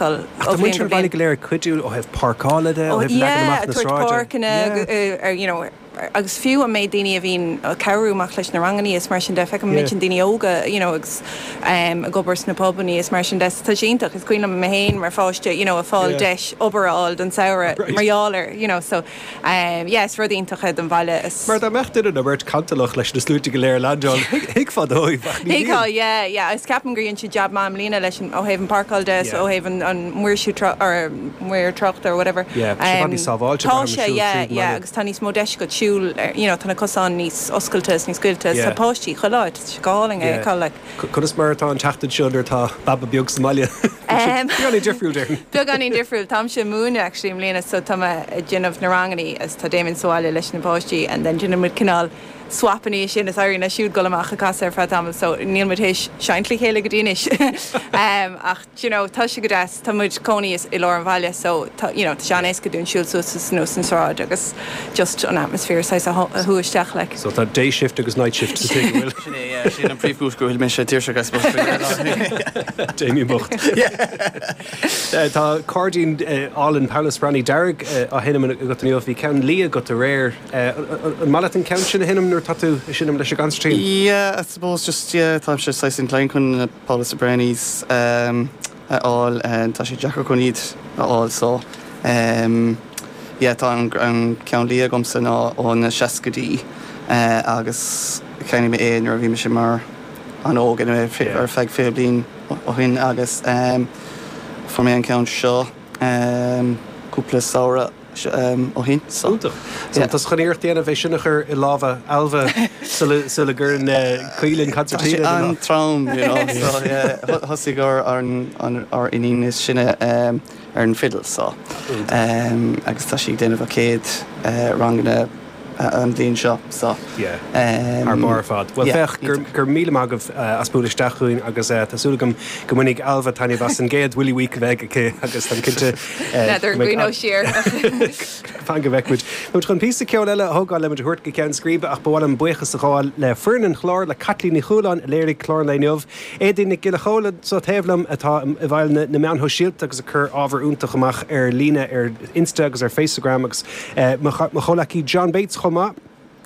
feiceáil Ach tá ó bhliain muintir go an bhaile bliain. go léir ag cuidiú ó thaobh páirceála de, ó Ó thaobh leagan yeah, amach ag na tabhairt sráide. páirceanna Yeah. ar you know agus fiú an méid daoine a bhíonn ag cabhrú amach leis na rangannaí is mar sin de, feicim an méid Yeah. sin daoine óga you know agus em ag obair sna pubannaí is mar sin de, so tá sé iontach, is cuimhin liom mé féin mar pháiste you know ag fáil Yeah. deis obair a fháil don samhradh Right. mar gheall air you know so em yeah is rud iontach é don bhaile is. Mar dá mbeadh duine nó beirt cantalach leis na sluaite go léir a leaindeáil, thuigfeá dóibh ach ní Thuigfeá, bhíonn. yeah, yeah agus ceapaim gur dhein siad jab maith i mbliana leis an, ó thaobh an páirceáil de is Yeah. ó thaobh an, an maoirsiú trá, or maor tráchta or whatever. Yeah, tá sé i bhfad níos sábháilte Tá braithim sé, siúl yeah, tríd an yeah mbaile. agus tá níos mó deis agat siúl ar, you know, tá na cosáin níos oscailte is níos scaoilte is Yeah. tá páistí chuile áit, tá sé go hálainn é Yeah. a fheiceáil like. Conas mar atá an tseachtain seo nuair atá baba beag sa mbaile? Beagáinín difriúil déarfainn. Beagáinín difriúil. Táimse ag múineadh actually i mbliana so tá mé ag déanamh na rangannaí agus tá Damien sa bhaile leis na páistí and then déanann muid cineál swap ina dhiaidh sin is éiríonn leis siúd dul amach ag casadh ar feadh tamaill so níl muid théis seinnt le chéile go dtí anois ach do you know tá sé go deas tá muid cónaí i lár an bhaile so tá you know tá sé an-éasca dúinn siúl suas is anuas an sráid agus just an atmosphere saghas a shú isteach like. So tá day shift agus night shift sa tigh, an bhfuil? Sin é, yeah, sin an príomhchúis go bhfuil mise tuirseach I suppose. Damien bocht. Tá cairdín álainn Paolo Soprani dearg á sheinm agat inniu, bhí ceann liath agat aréir. An maith leat an ceann sin a sheinm nuair atá tú ag seinm leis an gconsairtín? Yeah, I suppose just yeah, táimse saghas inclined chun na Paolo Sopranis a fháil, tá sé deacair chun iad a fháil so yeah tá an ceann liath agamsa ná ó na seascaidí agus cheannaigh mé é nuair a bhí mise mar an-óg anyway ar feadh 20 bliain ó shin agus fuair mé an ceann seo cúpla samhradh ó shin so. Iontach. So tá tú chun iarracht a dhéanamh é sin a chur i lámha Ailbhe sula gcuireann Caoilinn Tá sé consairtín ina lámh. an-trom, you know, so yeah, thosaigh ár ár iníon is sine ar an fidil so agus tá sí ag déanamh a céad ranganna an bhliain seo so Yeah. Thar barr ar fad. Bhuel yeah, féach, go raibh míle maith agaibh as bualadh isteach chugainn agus tá súil agam go mbainfidh Ailbhe taitneamh as an gcéad Willie Week a bheidh aici agus táim cinnte N'fheadar go mbeidh an gcuimhneoidh sí air. Fan go bhfeicfidh muid. Tá muid chun píosa ceoil eile a thógáil le muid a thabhairt go ceann scríbe ach ba mhaith liom buíochas a ghabháil le foireann an chláir, le Caitlín Ní Chualáin a léirigh clár an lae inniu, Éadaoin Nic Giolla Chóill anseo taobh liom atá i bhfeighil na meán shóisialta agus ag cur ábhar iontach amach ar líne ar Insta agus ar Faceagram agus mo chomhleacaí John Bates chomh maith.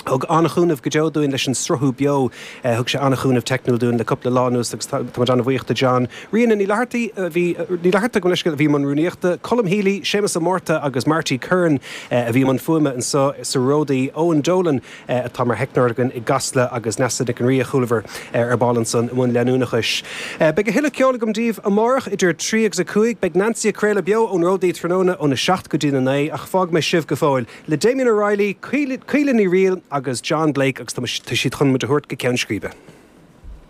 Thug an-chúnamh go deo dúinn leis an sruthú beo. Thug sé an-chúnamh teicniúil dúinn le cúpla lá anuas agus tá muid an-bhuíoch de John. Ríona Ní Fhlathartaigh a bhí, Ní Fhlatharta gabh mo leithscéal, a bhí i mbun rúnaíochta, Colm Healy, Séamus Ó Márta agus Marty Curran a bhí i mbun fuaime anseo sa Ródaí, Eoin Dolan atá mar theicneoir againn i gCasla agus Neasa Nic an Rí a chualamar ar ball ansan i mbun leanúnachais. Beidh a thuilleadh ceoil agam daoibh amárach idir 3 agus 5. Beidh Nancy ag craoladh beo ón Ródaí tráthnóna óna 7 go dtína 9 ach fágfaidh mé sibh go fóill le Damien O'Reilly, Caoilinn Ní Fhrighil agus John Blake agus tá siad chun muid a thabhairt go ceann scríbe.